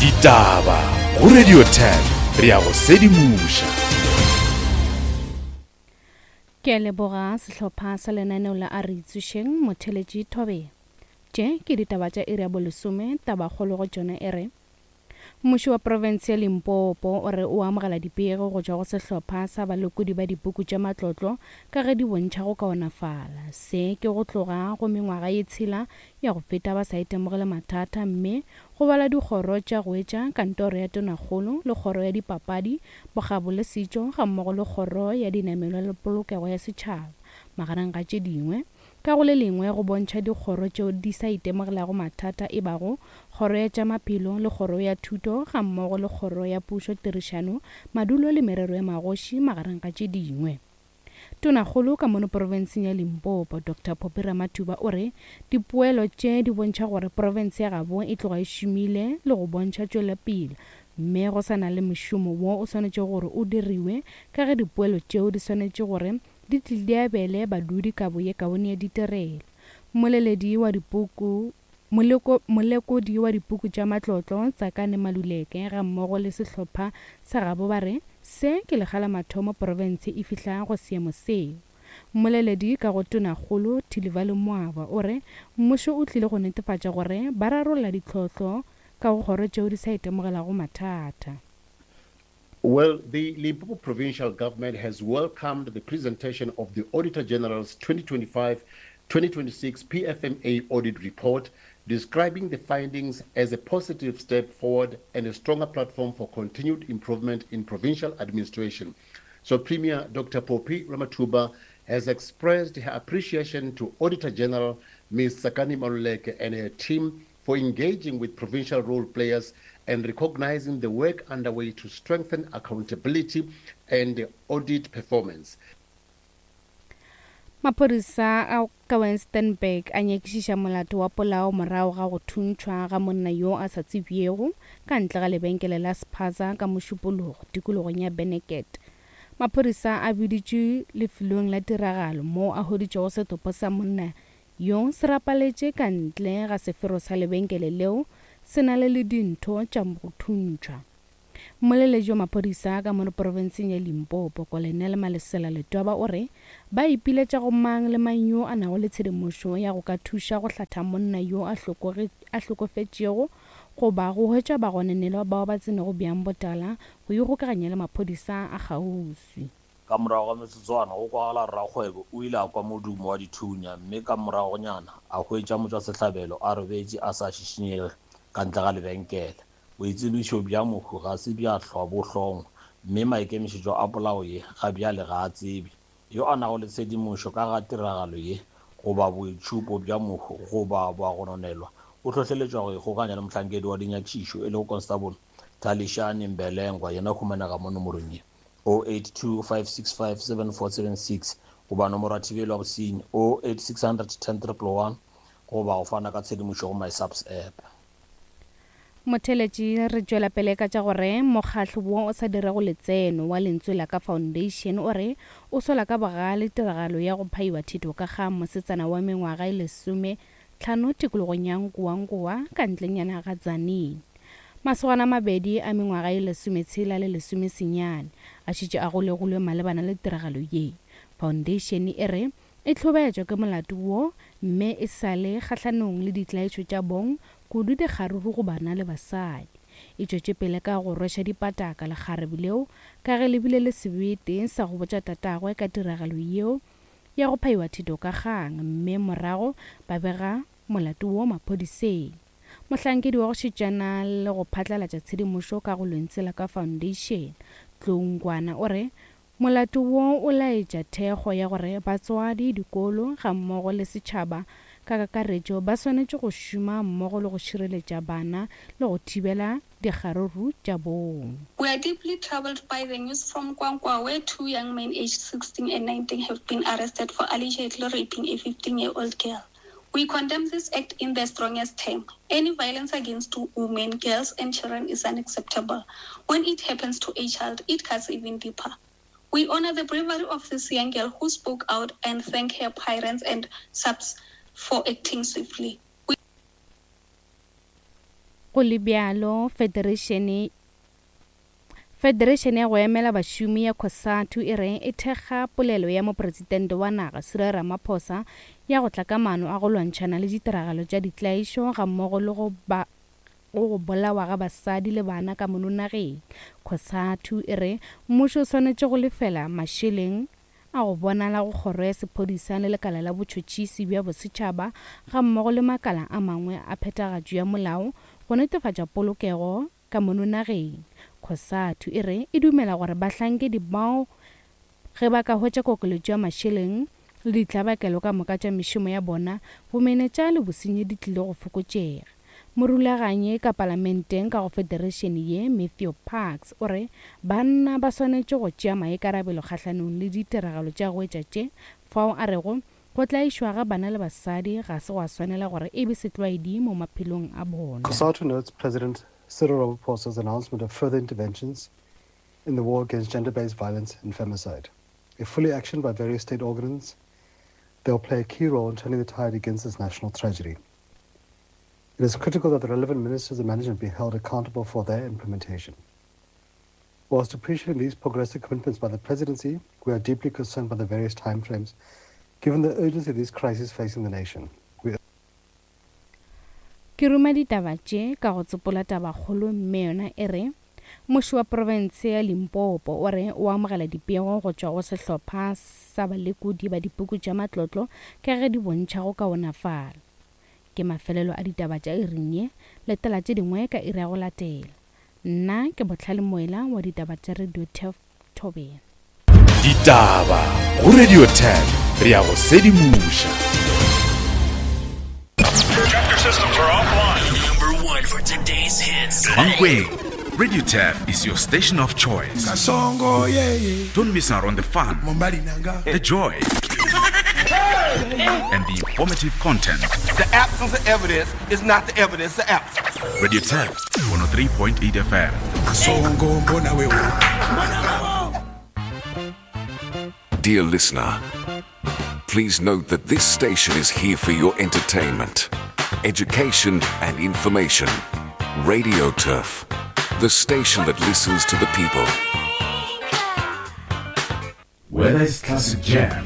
Ditaba go Radio 10 re a go sedimoša. Ke a leboga sehlopha sa lenaneo la A Re Itsošeng Motheletši Thobela. Tše ke ditaba tša iri ya bolesome, tabakgolo go tšona e re, Mmušo wa profense ya Limpopo o re o amogela dipego go tšwa go sehlopha sa balekodi ba dipuku tša matlotlo ka ge di bontšha go kaonafala. Se ke go tloga go mengwaga ye tshela ya go feta ba sa itemogele mathata mme go bala dikgoro tša go etša kantoro ya tonakgolo le kgoro ya dipapadi, bokgabo le setšo gammogo le kgoro ya dinamelwa le polokego ya setšhaba magareng ga tše dingwe. Ka go le lengwe go bontšha dikgoro tšeo di sa itemogelago mathata e bago Kgoro ya tša Maphelo le Kgoro ya Thuto gammogo le Kgoro ya Pušo Tirišano, Madulo le Merero ya Magoši magareng ga tše dingwe. Tonakgolo ka mono profenseng ya Limpopo, Doctor Phophi Ramathuba o re dipoelo tše di bontšha gore profense ya gabo e tloga e šomile le go bontšha tšwelopele mme go sa na le mošomo wo o swanetšego gore o diriwe ka ge dipoelo tšeo di swanetše gore di tle di abele badudi kabo ye kaone ya ditirelo. Mmoleledi wa dipuku Moleko, molekodi wa dipuku tša matlotlo, Tsakane Maluleke, gammogo le sehlopha sa gabo ba re se ke lekga la mathomo profense e fihla go seemo seo. Mmoleledi ka go Tonakgolo, Thilivhali Mwaba, o re mmušo o tlile go netefatša gore ba rarolla ditlhohlo ka go kgoro tšeo di sa itemogelago mathata. Well, the Limpopo provincial government has welcomed the presentation of the Auditor General's 2025-2026 PFMA audit report, describing the findings as a positive step forward and a stronger platform for continued improvement in provincial administration. So Premier Dr. Phophi Ramathuba has expressed her appreciation to Auditor General Ms. Tsakani Maluleke and her team for engaging with provincial role players and recognizing the work underway to strengthen accountability and audit performance. Maphodisa a ka Wynstanburg a nyakišiša molato wa polao morago ga go thuntšhwa ga monna yo a sa tsebjego ka ntle ga lebenkele la spaza ka Mošupologo tikologong ya Beneket. Maphodisa a biditšwe lefelong la tiragalo moo a hweditšego setopo sa monna Yo se rapaletše ka ntle ga sefero sa lebenkele leo se na le le dintho tša go thuntšhwa. Mmoleledi wa maphodisa ka mono profenseng ya Limpopo, Colonel Malesela Letwaba o re ba ipiletša go mang le mang yo a nago le tshedimošo ya go ka thuša go hlatha monna yo a a hlokofetšego goba go hwetša bagononelwa bao ba tsenego bjang botala go ikgokaganya le maphodisa a kgauswi. Ka morago ga metsotswana, go kwagala rakgwebo o ile a kwa modumo wa dithunya mme ka moragonyana a hwetša motšwasehlabelo a robetše a sa šišinyege ka ntle ga lebenkele. Boitsebišo bja mohu ga se bja hlwa bo hlongwa mme maikemišetšo a polao ye ga bjale ga a tsebje. Yo a nago le tshedimošo ka ga tiragalo ye goba boitšhupo bja mohu goba boagononelwa o hlohleletšwa go ikgokanya le mohlankedi wa dinyakišišo e lego Constable Thalishani Mbelengwa yena o humanega mo nomorong ye. 082 565 7476 goba nomoro ya thibelo ya bosenyi 08600 10 111 goba go fana ka tshedimošo go MySAPS app. Motheeletši, re tšwela pele ka tša gore mokgahlo wo o sa dirego letseno wa Lentswe la Ka Foundation o re o sola ka bogale tiragalo ya go phaiwa thito ka ga mosetsana wa mengwaga e lesome tlhano tikologong ya Nkowankowa ka ntlenyana ga Tzaneen. Masogana a mabedi a mengwaga ye lesometshela le lesomesenyane a šetše a golegilwe malebana le tiragalo ye. Foundation e re e hlobaetšwa ke molato wo mme e sa le kgahlanong le ditlaišo tša bong kudu dikgaruru go bana le basadi. E tšwetše pele ka go rweša dipataka lekgarebe leo ka ge le bile le sebete sa go botša tatagwe ka tiragalo yeo ya go phaiwa thito ka kgang mme morago ba bega molato wo maphodiseng. Mohlankedi wa go šetšana le go phatlalatša tshedimošo ka go Lentswe la Ka Foundation, Tlou Nkwana o re molato wo o laetša thekgo ya gore batswadi, dikolo gammogo le setšhaba ka kakaretšo ba swanetše go šoma mmogo le go šireletša bana le go thibela dikgaruru tša bong. We are deeply troubled by the news from Kwankwa where two young men aged 16 and 19 have been arrested for allegedly raping a 15-year-old girl. We condemn this act in the strongest term. Any violence against women, girls and children is unacceptable. When it happens to a child, it cuts even deeper. We honor the bravery of this young girl who spoke out and thank her parents and subs for acting swiftly. Go le bjalo, Federešene Federešene ya go emela bašomi ya Cosatu e re e thekga polelo ya Mopresidente wa naga Cyril Ramaphosa ya go tla ka maano a go lwantšhana le ditiragalo tša ditlaišo gammogo le go ba go go bolawa ga basadi le bana ka mono nageng. Cosatu e re mmušo o swanetše go lefela mašeleng a go bonala go kgoro ya sephodisa le lekala la botšhotšhisi bja bosetšhaba gammogo le makala a mangwe a phethagatšo ya molao go netefatša polokego ka mono nageng. Cosatu e re e dumela gore bahlankedi bao ge ba ka hwetša kokeletšo ya mašeleng le ditlabakelo ka moka tša mešomo ya bona, bomenetša le bosenyi di tlile go fokotšega. Morulaganyi ka palamenteng ka go federešene ye, Matthew Parks, o re banna ba swanetše go tšea maikarabelo kgahlanong le ditiragalo tša go etša tše, fao a rego go tlaišwa ga bana le basadi ga se gwa swanela gore e be setlwaedi mo maphelong a bona. COSATU notes President Cyril Ramaphosa's announcement of further interventions in the war against gender-based violence and femicide. If fully actioned by various state organs, they'll play a key role in turning the tide against this national tragedy. It is critical that the relevant ministers and management be held accountable for their implementation. Whilst appreciating these progressive commitments by the presidency, we are deeply concerned by the various timeframes, given the urgency of these crises facing the nation. We Ke ruma ditaba tše ka go tsopola tabakgolo mme yona e re, Mmuši wa profense ya Limpopo o re o amogela dipego go tšwa go sehlopha sa balekodi ba dipuku tša matlotlo ka ge di bontšha go kaonafala. Ke mafelelo a ditaba tša iring ye, letela tše dingwe ka iri ya go latela. Nna ke Bohlale Moela wa ditaba tša Radio Turf Thobela. Ditaba go Radio Turf, re a go sedimoša. Mankweng, Radio Turf is your station of choice. Kasongo, yeah, yeah. Don't miss out on the fun, the joy, and the informative content. The absence of evidence is not the evidence of absence. Radio Turf 103.8 FM. Dear listener, please note that this station is here for your entertainment, education, and information. Radio Turf, the station that listens to the people. Whether it's classic jam,